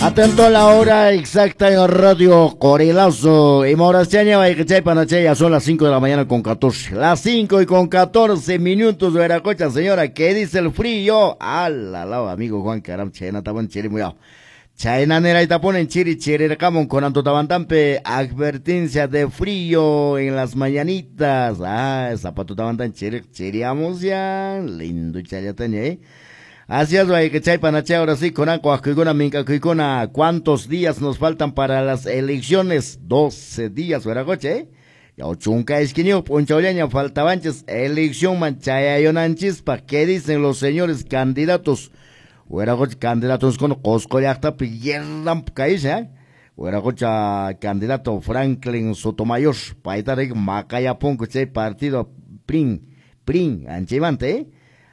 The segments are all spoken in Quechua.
Atento a la hora exacta en Radio Corilazo. Y Morastiaña, ya son las 5 de la mañana con 14. Las 5:14, Veracocha, señora. ¿Qué dice el frío? Ala, la, amigo Juan Caram, chena, taban chiri, muy Chayna nera ponen chiri chirirqamun con Antotabantampe, advertencia de frío en las mañanitas. Ah, zapato tabantan chiri, chiriamos ya. Lindo chayataña, ¿eh? Así es, chay panache, ahora sí, con minca, ¿cuántos días nos faltan para las elecciones? 12 días, Veracoche, ¿eh? Ya chunka esquinio, ponchaulaña, faltabanches, elección manchayayonanchis, ¿qué dicen los señores candidatos? Hueracocha candidatos con Cosco llaqtapi yerramp kaysa, ¿eh? Hueracocha candidato Franklin Sotomayor, payta maqayapunku chay partido PRIN, anchaymanta, ¿eh?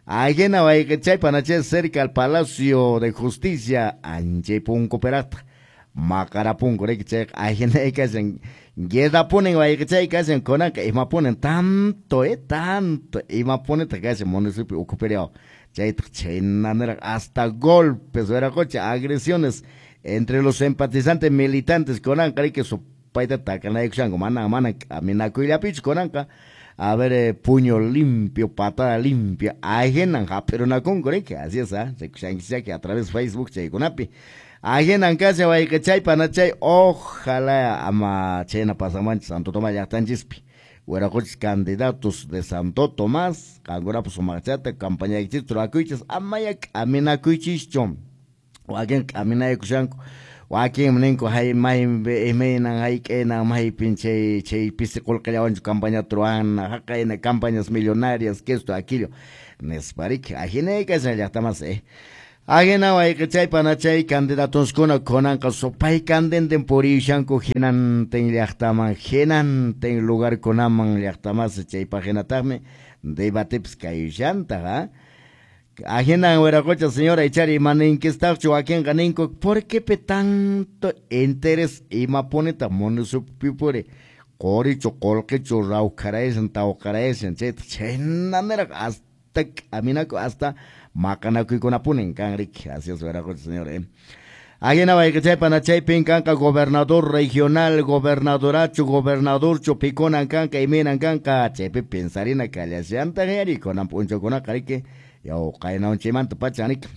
Ajena chay panache cerca al Palacio de Justicia, anchay punku perata, maqarapunku riki chay ajena kashan, guerrapunin wayqichay kashan kunanqa imapunin tanto, tanto imapunitaq kashan municipio ukhupirew. Chaytaq chaynaniraq hasta golpes, Veracocha, agresiones entre los empatizantes militantes kunanqa riki supayta takanaykushanku, mana mana k'aminakuyllapichu kunanqa. A ver, puño limpio, patada limpia, ajenan hap'irunakunku riki, así es, ¿ah? Rikushankichaki a través de Facebook chaykunapi. Ajenan kashan wayqichay panachay, ojalá ama chayna pasamanchis Santo Tomás llaqtanchispi. Hueracochis candidatos de Santo Tomás, qankunapas sumaqchata, campañaykichis rurakuychis, amaya k'aminakuychischu. Wakin k'aminaykushanku, wakin ninku hay maypi imaynan hayk'aynan maypin chay chay pisi qullqillawanchu campañata ruwana, haqayna campañas millonarias, que esto, aquello, nispa riki, ajinay kashan llaqtamas, Ajena wayqichay panachay candidatoskuna kunanqa supay candenten puriyushanku hinantin llaqtaman, hinantin lugarkunaman llaqtamas, chaypaq hinataqmi debatepis kayushantaq, ¿ah? Ajena Hueracocha, señora, ichari imaninkistachu wakinqa ninku, ¿por qué pe tanto interés imapunita municipio puri? Qorichu, qullqichu, rawkharaysan, tawqaraysan, chayta chaynaniraq hasta k'aminaku, hasta maqanakuykunapunin kan riki. Así es, Hueracocha, señora, Ajena wayqichay panachaypin kanqa gobernador regional, gobernadorachu, gobernadorchu, pikunan kanqa, imaynan kanqa, chaypi pensarina kallashantaq yari, kunan p'unchawkunaqa riki, yaw qaynawanchaymanta pacha riki.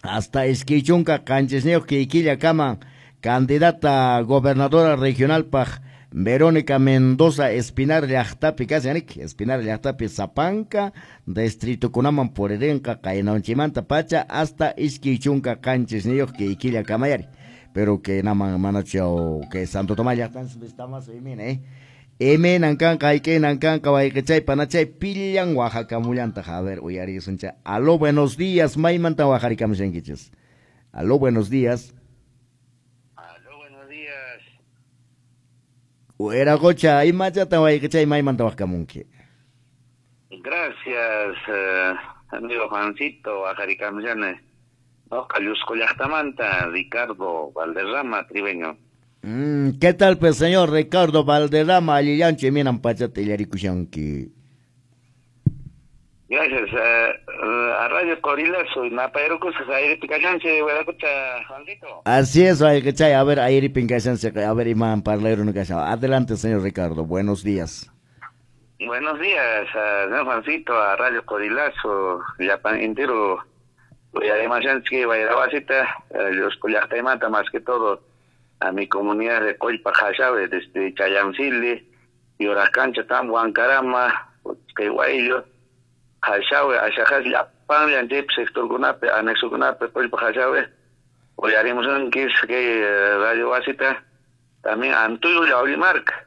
Hasta iskay chunka qanchisniyuq killakaman candidata gobernadora regionalpaq Verónica Mendoza Espinar llaqtapi kashan riki, Espinar llaqtapi Zapanka distritokunaman puririnqa qaynawanchaymanta pacha hasta iskay chunka qanchisniyuq killakamayari. Pero que naman manachu yaw que Santo Tomás llaqtanchis vistamas imina, Imaynan kanqa, hayk'aynan kanqa wayqichay panachay pillan waqakamullantaq. A ver, uyarisuncha. Aló, buenos días, maymanta waqarikamushankichis. Aló, buenos días. Aló, buenos días. Hueracocha, imachata wayqichay maymanta waqkamunki. Gracias, amigo Juancito, waqarikamushani. Noqa Llusco llaqtamanta, Ricardo Valderrama, tribeño. ¿Qué tal, pues, señor Ricardo Valderrama? Allillanchu iminan pachata illarikushanki. Gracias. A Radio Corilazo y Napayrucusas, airipi kashanchi, Hueracocha, Juancito. Así es, wayqichay. A ver, airipin kashanchi, a ver, iman parlayru kashan. Adelante, señor Ricardo. Buenos días. Buenos días, señor Juancito, a Radio Corilazo, llapan entero. Y además, que Guayrabasita, los llaqtaymanta más que todo, a mi comunidad de Coypa Jayave, desde Chayancili, Yoracancha, Tambo, Ancarama, Quehuaillo, Jayave, Ayajas, Yapan, Yanchip, sector Gunape, anexo Gunape, Coypa Jayave, hoy haremos un kiss que Radio Basita, también Antuyo, Yaurimarca,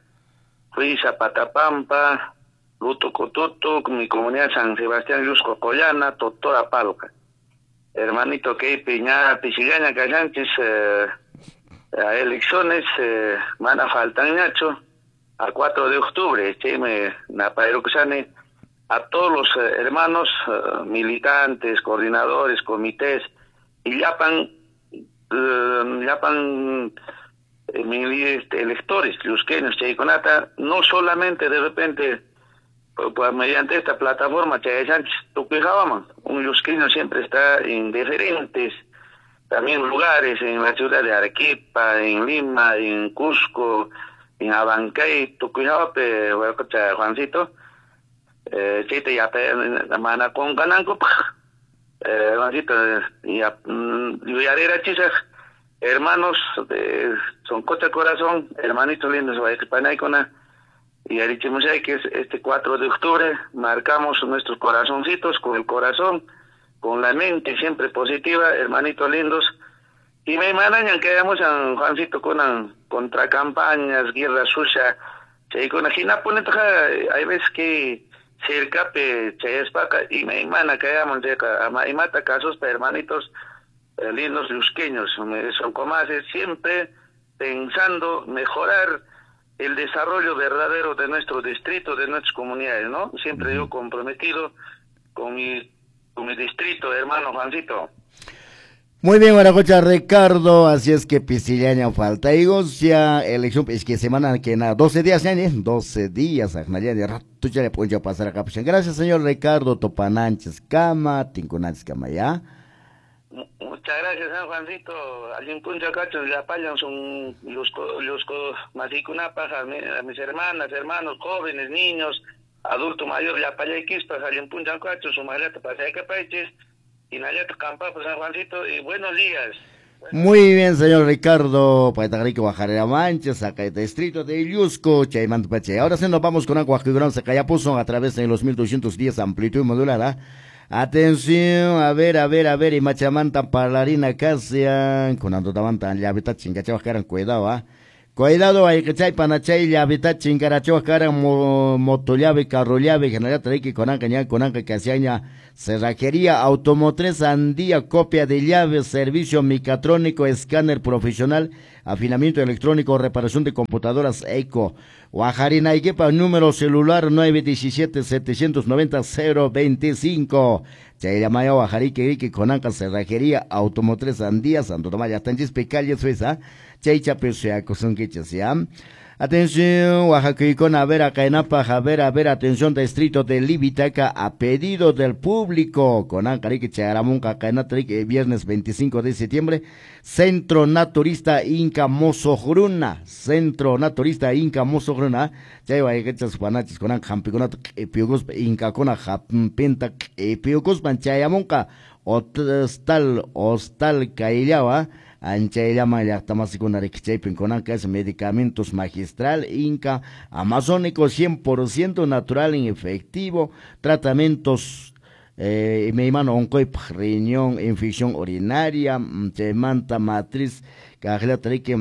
fui Zapatapampa, Luto Cotuto, mi comunidad San Sebastián, Llusco, Collana, Totora, Palca. Hermanito Keipi, Ña, Pichillaña, Cayanchis, a elecciones, van a faltar ñacho, a 4 de octubre, me napairukusani, a todos los hermanos, militantes, coordinadores, comités, y yapan electores, llusqueños, chaykunata, no solamente de repente, pues, mediante esta plataforma, Chayayanchis, tukuijawaman, un llusqueño siempre está en diferentes también lugares en la ciudad de Arequipa, en Lima, en Cusco, en Abancay, Tucuyape, Juancito, chayta yapa mana qunqanankupaq, Juancito, yuyarirachisaq hermanos de Soncocha Corazón, hermanitos lindos, wayqipanaykuna, yarichimushayki este 4 de octubre, marcamos nuestros corazoncitos con el corazón, con la mente siempre positiva, hermanitos lindos, y me manañan que hayamos a Juancito con contra campañas, guerra sucia, chaykuna hinapunitaqa hay veces que cercape chayaspaqa y me mana que hayamos ama imata casos pa hermanitos lindos llusqueños, son comases siempre pensando mejorar el desarrollo verdadero de nuestro distrito, de nuestras comunidades, ¿no? Siempre yo comprometido con mi distrito, hermano Juancito. Muy bien, Guaracocha Ricardo, así es que pisillaña falta y gocia, elección, es que semana que nada, 12 días, ya, 12 días, de rato ya le pueden pasar acá. Gracias, señor Ricardo, Topananches, Cama, Tincunanches, Cama, ya. Muchas gracias, San Juancito. Allí puncha cacho, ya payan son los masicunapa, a mis hermanas, hermanos, jóvenes, niños, adulto mayor, ya payaquispas, allí puncha cacho, su maleta pasayacapaiches, y nayata campa, pues San Juancito, y buenos días. Muy bien, señor Ricardo, Paitagrico, Bajarera Manches, acá el distrito de Llusco, Chaymanta Pache. Ahora sí nos vamos con agua que se Cayapuzo a través de los 1210 amplitud modulada. Atención, a ver, y machamanta parlarina casian, con andotamanta llavita chingachawas caran, cuidado, ah. Cuidado, hay que chay panachay llavita chingarachawas caran, moto llave, carro llave, general treki, conanca, ña, conanca, casiaña, cerrajería, automotriz, andía, copia de llaves, servicio mecatrónico, escáner profesional, afinamiento electrónico, reparación de computadoras eco. Guajarina Iquepa, número celular 917-790-025. Chayamaya, Guajarique, Ique, Conanca, Cerrajería, Automotriz, Andía, Santo Tomás, Yastanchispe, calle Suiza, Chaychape, Seacosunquiches, ¿ya? Atención, Oaxaca, a ver, Acaenapa, a ver, atención, distrito de Libitaca, a pedido del público, con Ancarique, Charamunca, Caenatrique, viernes 25 de septiembre, Centro Naturista Inca Mosojruna, Centro Naturista Inca Mosojruna, Chaywa, Echas, Juanachis, con Jampiconat, Epiocos, Inca, Cona, Jampenta, Epiocos, Chayamunca, Hostal, Hostal, Caillawa, Anchayllama llaqtamasikuna rikichaypin kunanqa es medicamentos magistral Inca amazónico 100% natural en efectivo, tratamientos meimano onqoypaq riñón, infección urinaria, chaymanta matriz kaqllata riki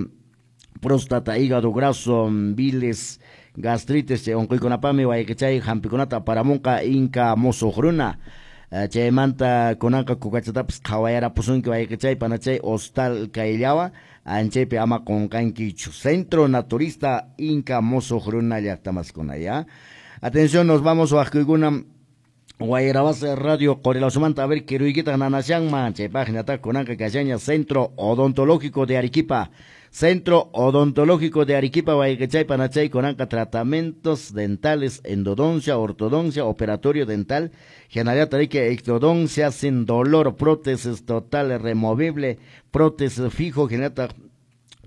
próstata, hígado graso, bilis, gastritis, chay onqoykunapami wayqichay hampikunata aparamunqa Inca Mosojruna. Chaymanta kunanqa kukachatapas qhawayarapusunki wayqichay panachay hostal kayllawa anchaypi ama qunqankichu. Centro Naturista Inca Mosojruna llaqtamasikuna, ya. Atención, nos vamos waqkuykuna Guayrabase Radio Corilazumanta, a ver kiruykita nanashanman chay página kunanqa kashaña Centro Odontológico de Arequipa. Centro Odontológico de Arequipa, Guayquechay, Panachay, Conanca, tratamientos dentales, endodoncia, ortodoncia, operatorio dental, general tarique, ectodoncia sin dolor, prótesis total removible, prótesis fijo, general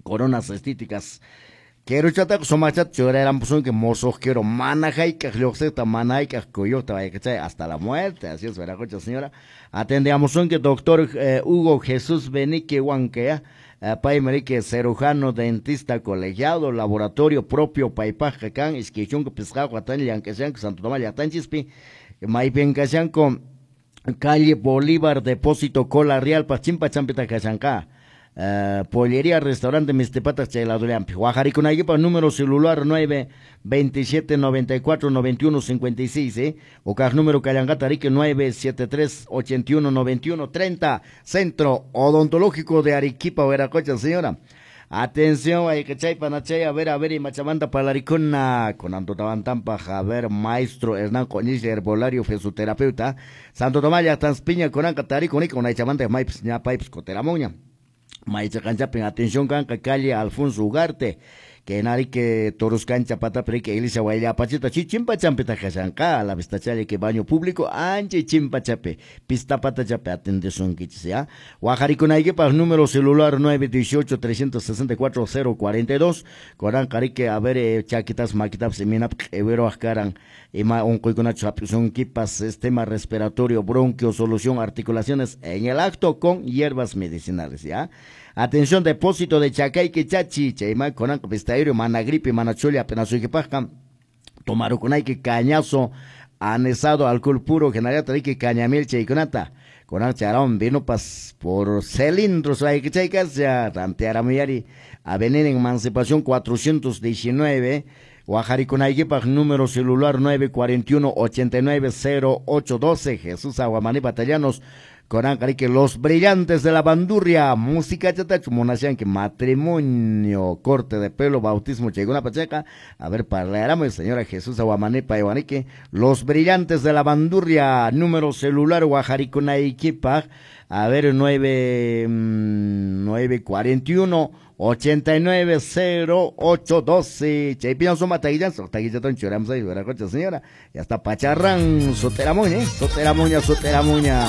coronas estéticas. Quiero chata somachat choraran que mozos quiero manajaika lluqsiqta manajaika kuyuqta wayqichay hasta la muerte. Así es, Veracocha señora. Atendemos que doctor Hugo Jesús Benique Huanquea, pay marique cirujano dentista colegiado, laboratorio propio paypaj kan iskaychunka pisqaq watan llank'ashanku Santo Tomás llaqtanchispi maypinkashanku calle Bolívar depósito Cola Real Pachimpa champita kashanka. Pollería, restaurante Mistepatas Chayladuriampi. Guajaricunayquipa, número celular 9 27 94 91 56, o car número Callangatarique 9 73 81 91 30. Centro Odontológico de Arequipa, Veracocha, señora. Atención, hay que chay panachay, a ver, y machamanta palaricuna, con Antotabantampa, Javier, maestro Hernán Coñiz, herbolario, fisioterapeuta, Santo Tomás, Tanspiña, con Tarico, con Aichamanta, Maipes, Ñapaipes, Coteramoña. Maicha Canchapin, atención, Canca, calle Alfonso Ugarte, Que narike Toruscancha patapi iglesia Wayllapachita chichimpachampita kashanqa a la vista que baño público ancha chimpachapi pista patachapi atendesunkichis ya. Wajaricunaykipaq número celular 918 364 042 koran qarike a ver chakitas maquitapas iminap q'iwiruwaq karan ima unquykunachu hap'isunkipas sistema respiratorio, bronquio, solución, articulaciones en el acto con hierbas medicinales, ¿ya? Atención, depósito de Chacayque Chachi, chayma konan pistairio, mana gripe, mana chulla, apenas suykipaqqa, tomarukunayki cañazo, anesado, alcohol puro, general que cañamiel chaykunata. Konan charón vino pas por cilindros hay chaykas ya rantearamuyari Avenida Emancipación 419 Guajarikunaykipaq número celular 941 89 0812 Jesús Aguamaní Batallanos Koran que los brillantes de la bandurria, música chatachu, que matrimonio, corte de pelo, bautismo, una pacheca. A ver, parlaramos, señora Jesús Aguamanepa Iwanique, los brillantes de la bandurria, número celular, Guajarikunaykipaq, a ver, 9, 941 89 08 12. Chaypiñan suma taguillanzo, taguillatón churamos ahí, señora. Ya está pacharrán, soteramuña, soteramuña, soteramuña.